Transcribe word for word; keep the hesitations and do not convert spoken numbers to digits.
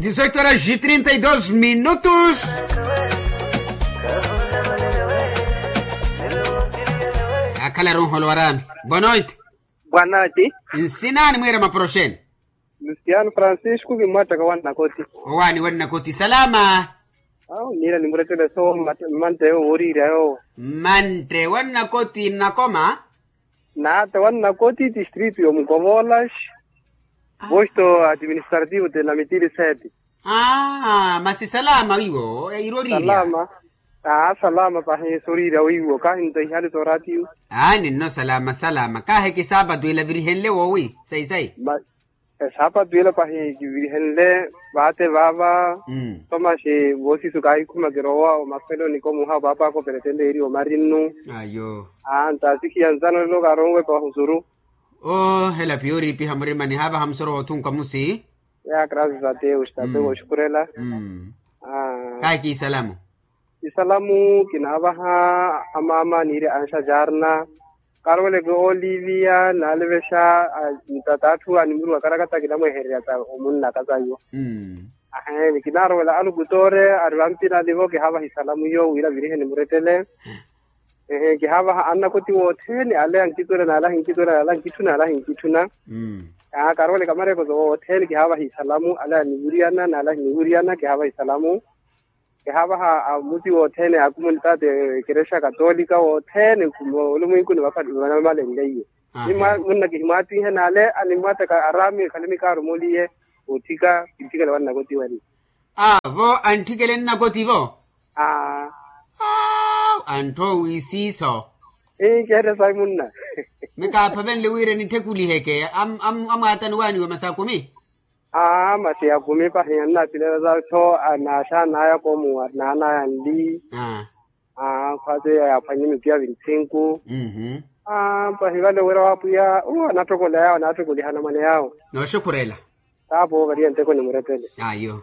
Dizoito horas e trinta e dois minutos. Akhala runholo warami. Boa noite. Boa noite. Nsinani mwira maporoxeni? Luciano Francisco kimwattaka wannakoti. Owani wannakoti salama. Awo nira nimurettele so. Mmantte woriirya yowo. Mmantte wannakoti nnakoma. Naata wannakoti distrito yomukovolas. Posto administrativo de namitili sete. Aa masi salama wiwo irorirya. Salama. Aa salama pahi soriirya wiwo kahi nto ihali soratio. Aa ninno salama salama kahi kisaapatu ila virihenle woowi sayi sayi. Esaapatu ila pahi kivirihenle vaate vaava. Tomaxi voosisu kaahikhuma kirowa omaselo nikomuha opaapa ako peretende eri omarinnu. Ayo. Aa ntasikhiya nzano lelo kaaronwe pahusuru. Oo hela piyo oriipiha murimani haavaha musoro woothunka musi. Ya graças a deus tate wooxukhurela. Kahi kiisalamu. Isalamu kinaavaha amaama niiri anxa jarna. Karweleke olivia naalevexa. Tata atthu animuruwa karakata kinamwehererya ta omunna kasayo. Ahe ni kinaarowela alukutore ari vampinani vo kihaavaha isalamu iyo wira virihe nimurettele. Ehe kihaavaha annakoti wothene ale ankituna nale ankituna nale ankituna nale ankituna. Karweleke amarekoso wothene kihaavaha isalamu ale aniwuriyana nale aniwuriyana kihaavaha isalamu. Kihaavaha amuti wothene a kumunitaati ekerexa katolika wothene olumwinku ni vamalenleiye. Munna kihimwaattihe nale animwattaka araami ekhale nikaarumoliye. Otthika kintthikele wannakoti wene. Aa vo antthikele nnakoti vo. Aa. Antthoowi siiso. Ii kihettya sayi munna. Mikaaphavenle wira nitthekuliheke amwaatani waaniwe masi akumi. Aa masi akumi pahi annapilelasa tho anaaxanaya koomuwa naanaya nli. Aa khwaateya yaaphwanye mipia vinthinku. Aa pahi vale wira wa apwiya uwo anattokola yawo anattokolihana mwane yawo. Nooxukhurela. Taapo variye nteko nimurettele. Ayo.